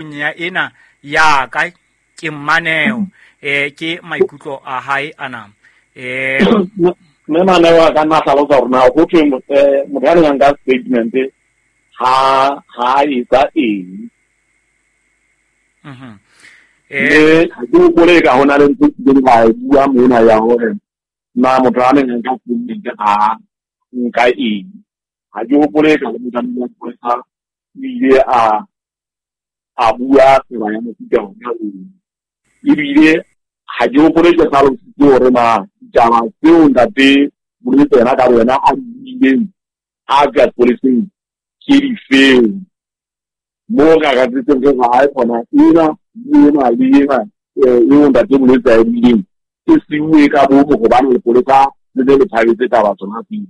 Ya ena ya ka ke mmaneo ke maikutlo a hae ana. Mme maneo a ka nna hlalosa hore na ho thwe motho ya neng ka statement ha ha etsa eng. Mme ha ke hopole ka hona le ntho e kileng ka e bua mona ya hore na motho a neng ka statement ha nka eng. Ha ke hopole ka le motho a o ile a bua tsela ya mofuta ona oo. Ebile ha ke hopole ke hlalositse hore na ditaba tseo ntate Bolwetse yena ka boyena a di buileng a tswa sepoleseng ke difeng. Moo re akatsitseng re re hae kgona ena le ena le ena eo ntate Bolwetse a e buileng e siuwe ka bomo hobane lepolesa le ne le thabetse taba tsona tseo.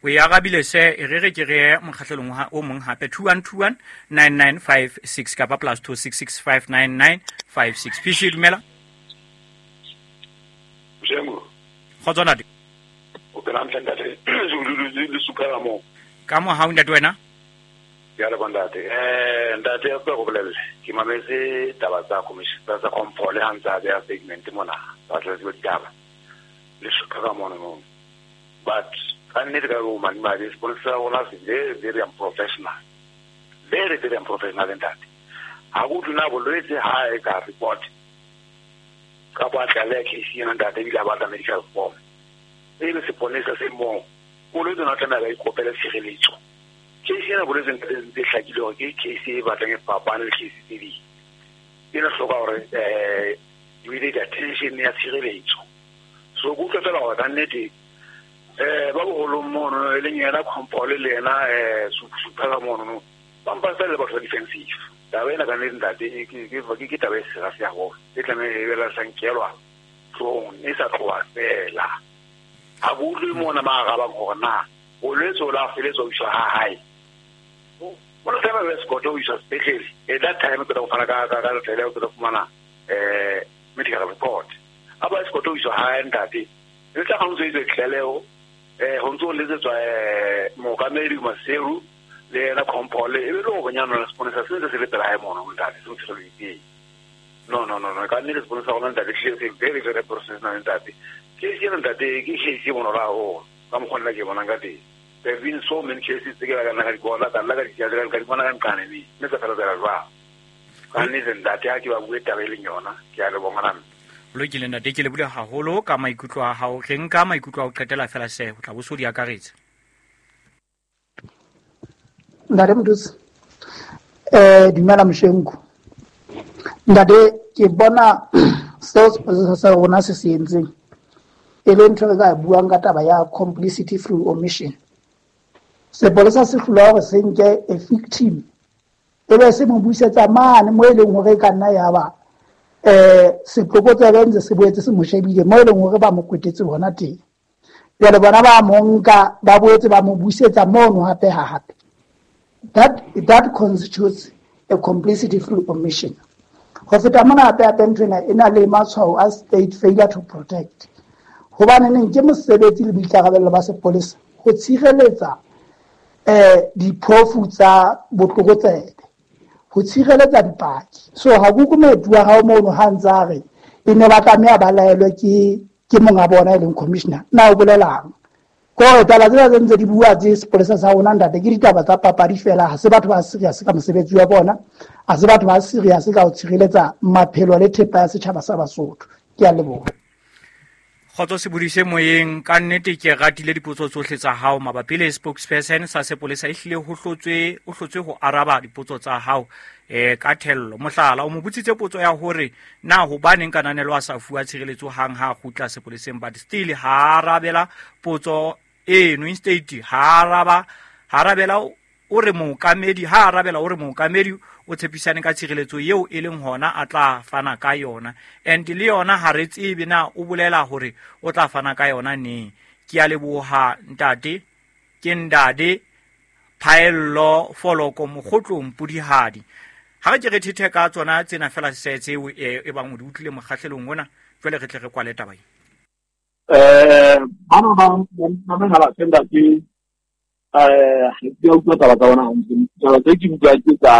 O e arabile se e re re ke re mokgahlelong o mong hape 2121 9956 kapa plus 26659956. PC dumela. Mshengu. Kgotso ntate. O phela hantle ntate. Le supa mo. Ka mohau ntate wena? Ke a leboha ntate. Ntate a go bolelle. Ke mametse taba tsa commission tsa compole ha ntse a beha statement mona. Ba tla tseba ditaba. Le supa ka mono mo. But ka nnete ka bo madimabe sepolesa sa rona se very very unprofessional. Very very unprofessional ntate. Ha go utlwe na bolwetse ha e ka report ka bo a tlaleha case ena ntate ebile a batla medical form. E le seponesa se moo bolwetse ona tlameha ba ikopele tshireletso. Case ena bolwetse ntate ntse hlakile hore ke case e batlang e fapane le case tse ding. Ena hloka hore immediate attention ya tshireletso. So ke utlwa fela hore ka nnete ba boholong mono e leng yena Compole le yena Supa ka mono no ba mpa fela le batho ba defensive. Taba ena ka nnete ntate ke taba e serious haholo e tlameha e be la sankelwa hloohong e sa tloha fela. Ha ke utlwe mona ba arabang hore na bolwetse o la feletswa ho iswa ha hae. Bona tlameha ba escort ho iswa sepetlele. At that time ke tla fana ka letlele o tla fumana medical report. A ba escort ho iswa hae ntate. Le tla ha ntse itswe tlaleho ho ntso letsetswa mookamedi Maseru le yena Compole e be le hore nyana seponesa se ntse se le pela hae mono ntate se ntse se le. No no no no ka nnete seponesa rona ntate tlile se very very professional ntate. Case ena ntate ke case e bonolo haholo ka mokgwa nna ke bonang ka teng. There have been so many cases tse ke la ka nna ka di bona ka nna ka di ka di bona ka nqane mme tsa fela tsela jwang. Ka nnete ntate ha ke ba bue taba e leng yona ke a leboha ngwana. Lokile ntate ke lebohile haholo ka maikutlo a hao. Re nka maikutlo a ho qetela fela se o tla bo so di akaretse. Ntate Mdusi, dumela Mshengu. Ntate ke bona seo sepolesa sa rona se se entseng e le ntho re ka buang ka taba ya complicity through omission. Sepolesa se hlolwa hore se nke a victim e be se mo busetsa mane mo e leng hore e ka nna ya ba setlokotsebe ntse se boetse se mo shebile mo e leng hore ba mo kwetetse hona teng. Jwale bona ba mo nka ba boetse ba mo busetsa mono hape ha hape. That constitutes a complicity through omission. Ho feta mona hape hape ntho ena e na le matshwao a state failure to protect. Hobane neng ke mosebetsi le boikarabello ba sepolesa ho tshireletsa diphofu tsa botlokotsebe, ho tshireletsa dipaki. So ha go kumetu wa hao mono ha ntse a re e ne ba tlameha ba laelwe ke monga bona e leng commissioner. Na o bolelang? Kore taba tsena tse ntse di bua tse sepolesa sa rona ntate ke ditaba tsa papadi fela, ha se batho ba serious ka mosebetsi wa bona, ha se batho ba serious ka ho tshireletsa maphelo le thepa ya setjhaba sa Basotho. Ke a leboha. Kgotso Sebodise moyeng, ka nnete ke ratile dipotso tsohle tsa hao mabapi le spokesperson sa sepolesa e hlile ho hlotswe o hlotswe ho araba dipotso tsa hao ka thello. Mohlala o mo botsitse potso ya hore na hobaneng Kananelo a sa fuwa tshireletso hang ha kgutla sepoleseng, but still ha arabela potso eno. Instead ha araba ha arabela o re mookamedi ha arabela o re mookamedi o tshepisane ka tshireletso eo e leng hona a tla fana ka yona, and le yona ha re tsebe na o bolela hore o tla fana ka yona neng. Ke a leboha ntate, ke ndade Phaello Foloko Mokgotlong Pudihadi. Ha re ke re thethe ka tsona tsena fela se tseo e bang o di utlwile mokgahlelong ona, jwale re tle re kwale taba ena. Bana ba ba ba senda ke ha ke a utlwa taba tsa bona hantle. Taba tse ke utlwang ke tsa